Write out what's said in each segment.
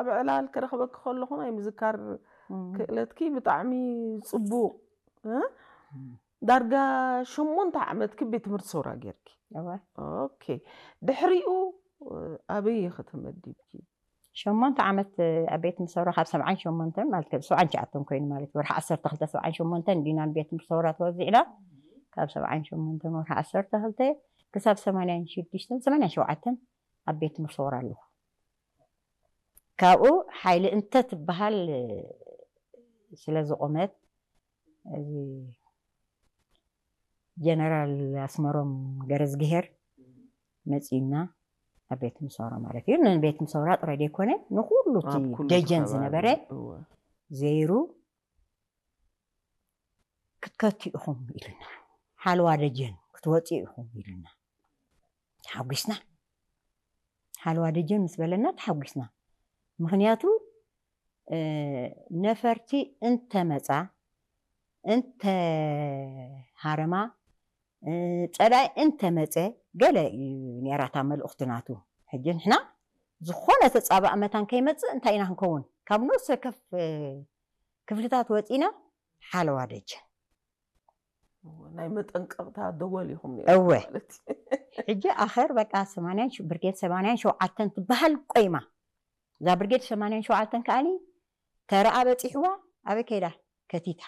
ኣብ ዕላል ክረኽበኪ ከለኹ ናይ ምዝካር ክእለትኪ ብጣዕሚ ጽቡቕ እ? ዳርጋ ሸሞንተ ዓመትኪ ቤት ትምህርቲ ሰውራ ጌርኪ። እወ። ኦኬ። ድሕሪኡ ኣበይ ኢኺ ተመዲብኪ? ሸሞንተ ዓመት ኣብ ቤት ትምህርቲ ሰውራ ካብ ሰብዓን ሸሞንተን ማለት ካብ ሰብዓን ትሽዓተን ኮይኑ ማለት ወርሒ ዓሰርተ ክልተ ሰብዓን ሸሞንተን ዲና ንቤት ትምህርቲ ሰውራ ተወዚዕና። ካብ ሰብዓን ሸሞንተን ወርሒ ዓሰርተ ክልተ ክሳብ ሰማንያን ሽዱሽተን ሰማንያን ሸውዓተን ኣብ ቤት ትምህርቲ ሰውራ ኣለኹ። ካብኡ ሓይሊ እንተ ትበሃል ስለ ዝቆመት እዚ ጀነራል ኣስመሮም ገረዝግሄር መጺና ኣብ ቤት ምሰውራ ማለት እዩ። ንቤት ምሰውራ ጥራይ ዘይኮነ ንኩሉ እቲ ኣብ ኩሉ ደጀን ከባቢ። ዝነበረ እወ። ዘይሩ ክትከቱ ኢኹም ኢሉና። ሓለዋ ደጀን ክትወፅኡ ኢኹም ኢሉና። ተሓጒስና። ሓለዋ ደጀን ምስ በለና ተሓጒስና። ምኽንያቱ እ፣ ነፈርቲ እንተመፃ እንተሃረማ እ፣ ፀላኢ እንተመፀ ገለ እዩ ነራታ መልእኽቲ ናቱ። ሕጂ ንሕና ዝኾነ ተፃባእ መታን ከይመፅእ እንታይ ኢና ክንከውን? ካብ ነፍሰ ከፍ እ፣ ክፍልታት ወፂና ሓለዋ ደጀን ናይ መጠንቀቕታ ደወል ኢኹም ነይሩ እወ። ማለት እዩ። ሕጂ ኣኸር በቃ ሰማንያን ሽ- ብርጌድ ሰማንያን ሸውዓተን ትበሃል ቆይማ። እዛ ብርጌድ ሰማንያን ሸውዓተን ከኣኒ ተረኣ በፂሕዋ ኣበይ ከይዳ ከቲታ።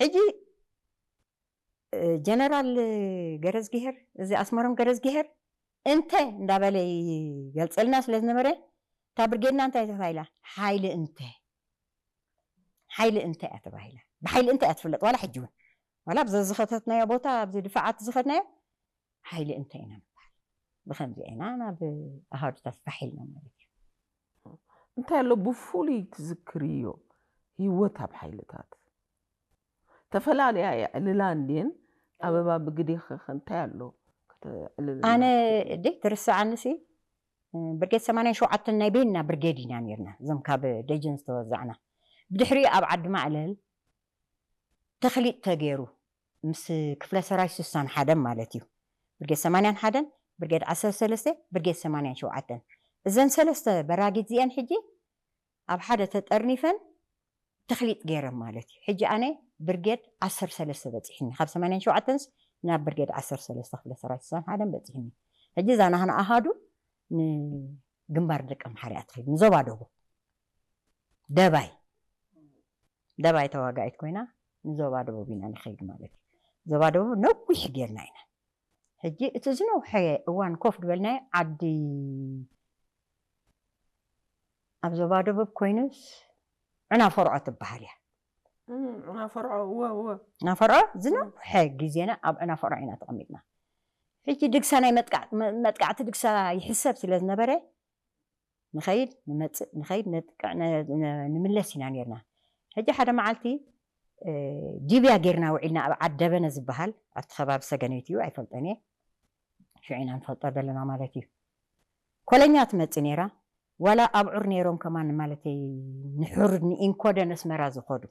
ሕጂ እ፣ ጀነራል ገረዝግሄር እዚ ኣስመሮም ገረዝግሄር እንተ እንዳበለ ይገልፀልና ስለ ዝነበረ እታ ብርጌድና እንታይ ተባሂላ? ሓይሊ እንተ ሓይሊ እንተ እያ ተባሂላ። ብሓይሊ እንተ እያ ትፍለጥ ዋላ ሕጂ እውን ዋላ ኣብዚ ዝኸተትናዮ ቦታ ኣብዚ ድፋዓት ዝኸድናዮ ሓይሊ እንተ ኢና ንበሃል። ብከምዚ ኢና ናብ ኣሃዱታት ፋሕ ኢልና ማለት እዩ። እንታይ ኣሎ ብፍሉይ ትዝክርዮ ህይወት ኣብ ሓይልታት? ተፈላለያ የዕልላ እንድየን ኣበባ ብግዴ ኸኸ እንታይ ኣሎ? ከተዕልልና ኣነ ደይ ትርስዓኒ ሲ ብርጌድ ሰማንያን ሸውዓተን ናይ ቤንና ብርጌድ ኢና ነርና እዞም ካብ ደጀን ዝተወዛዕና። ብድሕሪኡ ኣብ ዓዲ ማዕለል ተኽሊጥ ተገይሩ ምስ ክፍለ ሰራዊት ስሳን ሓደን ማለት እዩ። ብርጌድ ሰማንያን ሓደን፣ ብርጌድ ዓሰርተ ሰለስተ፣ ብርጌድ ሰማንያን ሸውዓተን። እዘን ሰለስተ በራጊት እዚአን ሕጂ ኣብ ሓደ ተጠርኒፈን ተኽሊጥ ገይረን ማለት እዩ። ሕጂ ኣነ ብርጌድ ዓሰርተ ሰለስተ በፂሕኒ። ካብ ሰማንያን ሸውዓተንስ ናብ ብርጌድ ዓሰርተ ሰለስተ ክፍለ ሰራዊት ስሳን ሓደን በፂሕኒ። ሕጂ እዛ ናህና ኣሃዱ ንግንባር ደቂ ኣምሓራ እያ ትኸይድ፣ ንዞባ ደቡብ። ደባይ ደባይ ተዋጋኢት ኮይና ንዞባ ደቡብ ኢና ንኸይድ ማለት እዩ። ዞባ ደቡብ ነዊሕ ጌርና ኢና። ሕጂ እቲ ዝነውሐ እዋን ኮፍ ዝበልናዮ ዓዲ ኣብ ዞባ ደቡብ ኮይኑስ ዕናፈርዖ ትበሃል እያ። እም፣ ዕናፈርዖ እወ እወ። ዕናፈርዖ ዝነውሐ ግዜና ኣብ ዕናፈርዖ ኢና ተቐሚጥና። ሕጂ ድግሳ ናይ መጥቃዕ- መ- መጥቃዕቲ ድግሳ ይሕሰብ ስለ ዝነበረ ንኸይድ ንመፅእ ንኸይድ ነጥቅዕ ነ- ነ- ንምለስ ኢና ነርና። ሕጂ ሓደ መዓልቲ እ፣ ዲብያ ጌርና ውዒልና ኣብ ዓድ ደበነ ዝበሃል ኣብቲ ከባቢ ሰገነይቲ እዩ ኣይፈልጦን እየ። ሽዑ ኢና ንፈልጦ ዘለና ማለት እዩ። ኮለኛ ትመፅእ ነይራ ዋላ ኣብዑር ነይሮም ከማን ማለተይ ንሕሩድ ንኢንኮደን ኣስመራ ዝኸዱ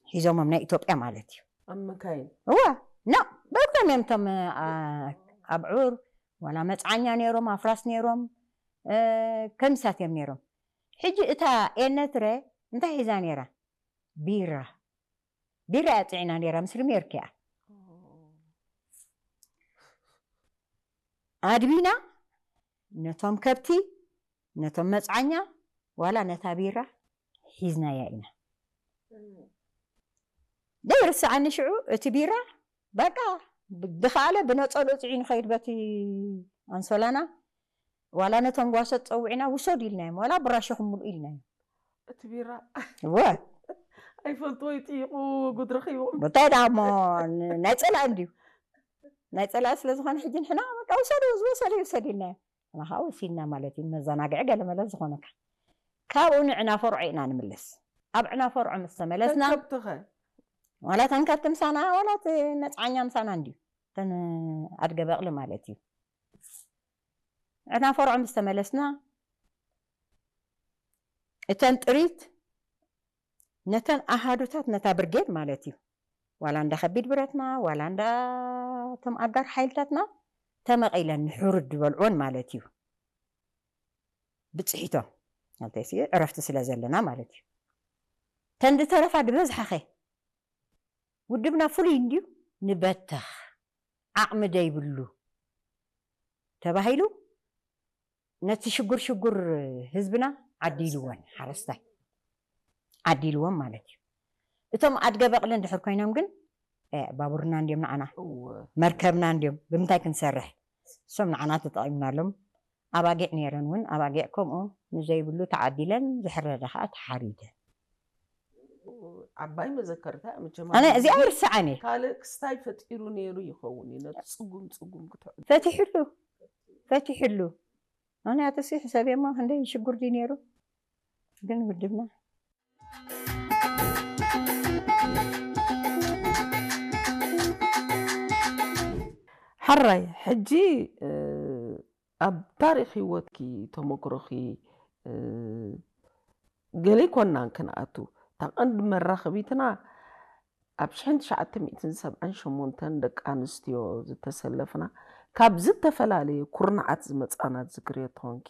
ሒዞሞም ናይ ኢትዮጵያ ማለት እዩ። ኣብ መካይን እዋ ና በእግሮም እዮም እቶም ኣ- ኣብዑር ዋላ መፅዓኛ ነይሮም ኣፍራስ ነይሮም እ፣ ከሚሳት እዮም ነይሮም። ሕጂ እታ ኤነትረ እንታይ ሒዛ ነይራ? ቢራ ቢራ እያ ፅዒና ነይራ ምስ ሪሜርክ እያ ኣድቢና ነቶም ከብቲ ነቶም መፅዓኛ ዋላ ነታ ቢራ ሒዝናያ ኢና። ዘይርስዓኒ ሽዑ እቲ ቢራ በቃ ድኸኣለ ብነፀሉ ፅዒ ንኸይድ በቲ ኣንሶላና ዋላ ነቶም ጓሶት ፀዊዕና ውሰዱ ኢልናዮም ዋላ ብራሸኹም ምልኡ ኢልናዮም። እቲ ቢራ እወ ኣይፈልጥዎ ይጥይቑ ጉድ ረኺቦም። እንታይ ደኣ እሞ ን- ናይ ፀላእ እንድዩ ናይ ፀላእ ስለ ዝኾነ ሕጂ ንሕና በቃ ውሰዱ ዝወሰደ ይውሰድ ኢልናዮ። ንኻ ወሲድና ማለት እዩ መዘናግዒ ገለመለ ዝኾነካ። ካብኡ ንዕናፈርዖ ኢና ንምለስ። ኣብ ዕናፈርዖ ምስ ተመለስና ከብትኸ ዋላ ተን ከብቲ ምሳና ዋላ እቲ መፅዓኛ ምሳና እንድዩ ተን ኣድገ በቕሊ ማለት እዩ። ዕናፈርዖ ምስ ተመለስና እተን ጥሪት ነተን ኣሃዱታት ነታ ብርጌድ ማለት እዩ ዋላ እንዳ ከቢድ ብረትና ዋላ እንዳ እቶም ኣጋር ሓይልታትና ተመቒለን ንሕሩድ ዝበልዑወን ማለት እዩ። ብፅሒቶም፣ ማለተይሲ ዕረፍቲ ስለ ዘለና ማለት እዩ። ተን ዝተረፋ ዝበዝሓኸ ውድብና ፍሉይ እንድዩ፣ ንበተኽ፣ ዓቕሚ ደይብሉ ተባሂሉ ነቲ ሽጉር ሽጉር ህዝብና ዓዲልዎን፣ ሓረስታይ ዓዲልዎም ማለት እዩ። እቶም ኣድገ በቕሊ እንድሕር ኮይኖም ግን፣ እ፣ ባቡርና እንድዮም ንዓና፣ እወ። መርከብና እንድዮም፣ ብምንታይ ክንሰርሕ? እሶም ንዓና ተጠቒምናሎም። ኣባጊዕ ነይረን እውን፣ ኣባጊዕ ከምኡ ንዘይብሉ ተዓዲለን፣ ዝሕረዳ ከዓ ተሓሪደን። ዓባይ መዘከርታ እያ መቸም። ኣነ እዚኣ ይርስዓን እየ። ካልእ ክስታይ ፈጢሩ ነይሩ ይኸውን እዩ ነቲ ጽጉም ጽጉም ክትዕዱ። ፈቲሕሉ፣ ፈቲሕሉ። ምኽንያቱ ሲ ሕሰብ እሞ ክንደይ ሽጉር ድዩ ነይሩ? ግን ውድብና ሓራይ ሕጂ፣ እ፣ ኣብ ታሪኽ ህይወትኪ፣ ተመክሮኺ፣ እ፣ ገለ ኣይኮናን ክንኣቱ። እታ ቀንዲ መራኸቢትና ኣብ ሽሕን ትሽዓተ ሚእትን ሰብዓን ሸሞንተን ደቂ ኣንስትዮ ዝተሰለፍና፣ ካብ ዝተፈላለየ ኩርናዓት ዝመጻና ትዝክርዮ ትኾንኪ።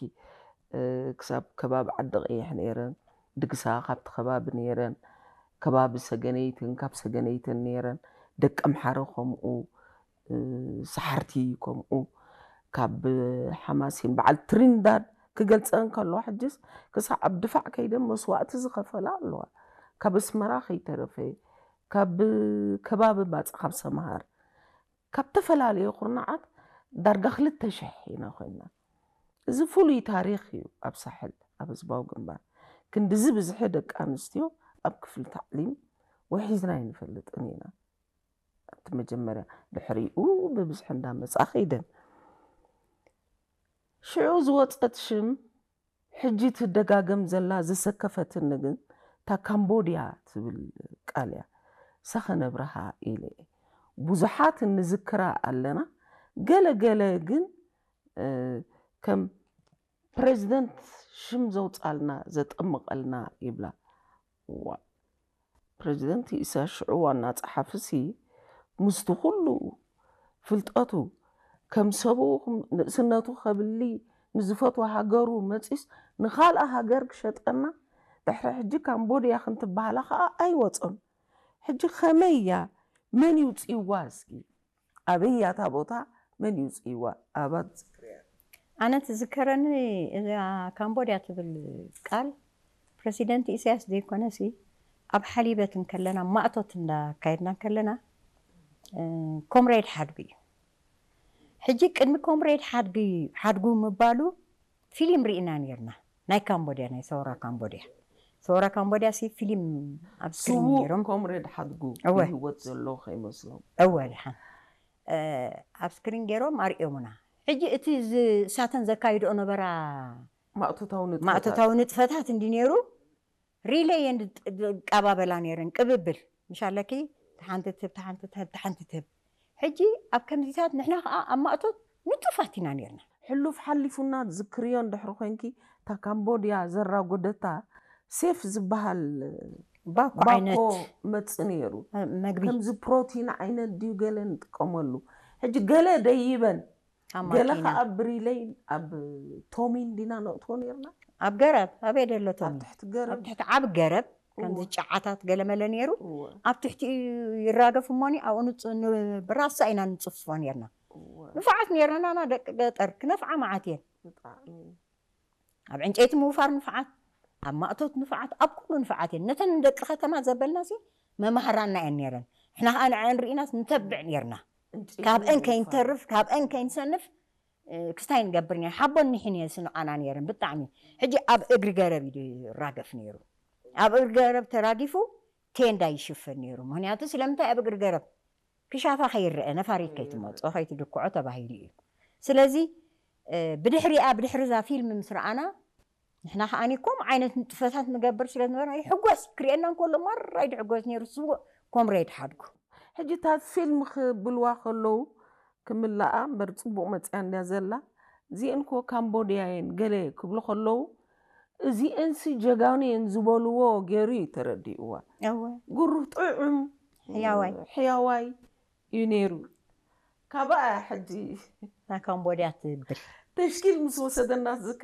እ፣ ክሳብ ከባቢ ዓዲ ቀይሕ ነይረን፣ ድግሳ ካብቲ ከባቢ ነይረን፣ ከባቢ ሰገነይትን ካብ ሰገነይትን ነይረን፣ ደቂ ኣምሓረ ከምኡ፣ እ፣ ሰሓርቲ ከምኡ፣ ካብ ሓማሴን በዓል ትሪንዳድ ክገልጸን ከለዋ፣ ሕጅስ ክሳዕ ኣብ ድፋዕ ከይደን መስዋእቲ ዝኸፈላ ኣለዋ። ካብ ኣስመራ ከይተረፈ፣ ካብ ከባቢ ባጽዕ፣ ካብ ሰምሃር፣ ካብ ተፈላለየ ኩርናዓት ዳርጋ ክልተ ሽሕ ኢና ኮይና። እዚ ፍሉይ ታሪኽ እዩ። ኣብ ሳሕል፣ ኣብ ህዝባዊ ግንባር ክንድዚ ብዝሒ ደቂ ኣንስትዮ ኣብ ክፍሊ ታዕሊም ውሒዝና ኣይንፈልጥን ኢና። እቲ መጀመርያ፣ ድሕሪኡ ብብዝሒ እንዳመጻ ከይደን። ሽዑ ዝወጸት ሽም ሕጂ ትደጋገም ዘላ ዘሰከፈትኒ ግን እታ ካምቦድያ ትብል ቃል እያ። ሳኸ ነብርሃ ኢለ እየ። ብዙሓት እንዝክራ ኣለና፣ ገለ ገለ ግን፣ እ፣ ከም ፕሬዚደንት ሽም ዘውጻልና ዘጠምቐልና ይብላ። ዋ፣ ፕሬዚደንት ኢሳያስ ሽዑ ዋና ጸሓፊሲ ምስቲ ኩሉ ፍልጠቱ ከም ሰብኡ ንእስነቱ ከብሊ ንዝፈትዋ ሃገሩ መጺስ ንኻልኣ ሃገር ክሸጠና ድሕሪ ሕጂ ካምቦድያ ክንትበሃላ ከኣ ኣይወጾን። ሕጂ ከመይ እያ? መን ይውጽእዋ እስኪ? ኣበይ እያ እታ ቦታ? መን ይውጽእዋ? ኣባት ዝክርያ። ኣነ ትዝከረኒ እዛ ካምቦድያ ትብል ቃል ፕረሲደንት ኢሳያስ ዘይኮነሲ ኣብ ሓሊበት እንከለና ማእቶት እንዳካየድና እንከለና እ፣ ኮምሬድ ሓድጉ እዩ። ሕጂ ቅድሚ ኮምሬድ ሓድጉ ሓድጉ ምባሉ ፊልም ርኢና ነርና ናይ ካምቦድያ ናይ ሰውራ ካምቦድያ ሰውራ ካምቦድያ ሲ ፊልም ኣብ ስክሪን ስዉእ ነይሮም ኮምሬድ ሓድጉ እወ። ህይወት ዘሎ ከይመስሎም። እወ ድሓን እ፣ ኣብ ስክሪን ገይሮም ኣርእዮምና። ሕጂ እቲ ዝ- እሳተን ዘካይድኦ ነበራ ማእቶታዊ ንጥፈታት። ማእቶታዊ ንጥፈታት እንዲ ነይሩ ሪለይ እየን ዝቃባበላ ነይረን ቅብብል ምሻለኪ ተሓንቲ ትህብ ተሓንቲ ትህብ ተሓንቲ ትህብ። ሕጂ ኣብ ከምዚታት ንሕና ከዓ ኣብ ማእቶት ንጡፋት ኢና ነርና። ሕሉፍ ሓሊፉና ዝክርዮ እንድሕሪ ኮንኪ እታ ካምቦድያ ዘራጎደታ ሴፍ ዝበሃል ባኮ ባኮ ዓይነት መጽ ነይሩ። መግቢ ከምዚ ፕሮቲን ዓይነት ድዩ ገለ ንጥቀመሉ። ሕጂ ገለ ደይበን ኣብ ገለ ማኪና ከዓ ብሪለይ ኣብ ቶሚን ዲና ነእትዎ ነርና። ኣብ ገረብ ኣበይ ደሎ ኣብ ቶሚ ትሕቲ ገረብ ኣብ ትሕቲ ዓብ ገረብ ከምዚ እዎ። ጫዓታት ገለ መለ ነይሩ እወ፣ ኣብ ትሕቲ ይራገፍ እሞኒ ኣብኡ ንፅ- ን- ብራሳ ኢና ንፅፍፎ ነርና። እወ፣ ንፉዓት ነርና ናና ደቂ ገጠር ክነፍዓ መዓት እየን። ብጣዕሚ። ኣብ ዕንጨይቲ ምውፋር ንፍዓት፣ ኣብ ማእቶት ንፍዓት፣ ኣብ ኩሉ ንፍዓት እየን። ነተን ንደቂ ከተማ ዘበልና ሲ መማህራና እየን ነይረን። ንሕና ከዓ ንዐን ርኢናስ ንተብዕ ነርና። ዕንጨይቲ ካብአን ምውፋር። ከይንተርፍ ካብአን ከይንሰንፍ እ፣ ክስታይ ንገብር ነር ሓቦን ንሕን እየን ስንቓና ነይረን ብጣዕሚ። ሕጂ ኣብ እግሪ ገረብ እዩ ይራገፍ ነይሩ። ኣብ እግሪ ገረብ ተራጊፉ ቴንዳ ይሽፈን ነይሩ። ምክንያቱ ስለምንታይ ኣብ እግሪ ገረብ ክሻፋ ከይረአ ነፋሪት ከይትመፅኦ ከይትድክዖ ተባሂሉ እዩ። ስለዚ እ፣ ብድሕሪኣ ብድሕሪ እዛ ፊልም ምስ ረኣና ንሕና ከዓኒ ከምኡ ዓይነት ንጥፈታት ንገብር ስለ ዝነበርና ይሕጎስ ክርእየና እንከሎ ማራ እዩ ድሕጎስ ነይሩ ስዉእ ኮምሬድ ሓድጉ። ሕጂ እታ ፊልም ክብልዋ ከለዉ ክምልኣ እምበር ፅቡቕ መፅያ እንድያ ዘላ። እዚአን እኮ ካምቦድያ እየን ገለ ክብሉ ከለዉ እዚአንሲ ጀጋኑ እየን ዝበልዎ ገይሩ እዩ ተረዲእዋ። እወ ግሩህ ጥዑም ሕያዋይ። ሕያዋይ እዩ ነይሩ። ካብኣ ሕጂ ናይ ካምቦድያ ትብል ተሽኪል ምስ ወሰደና ትዝክር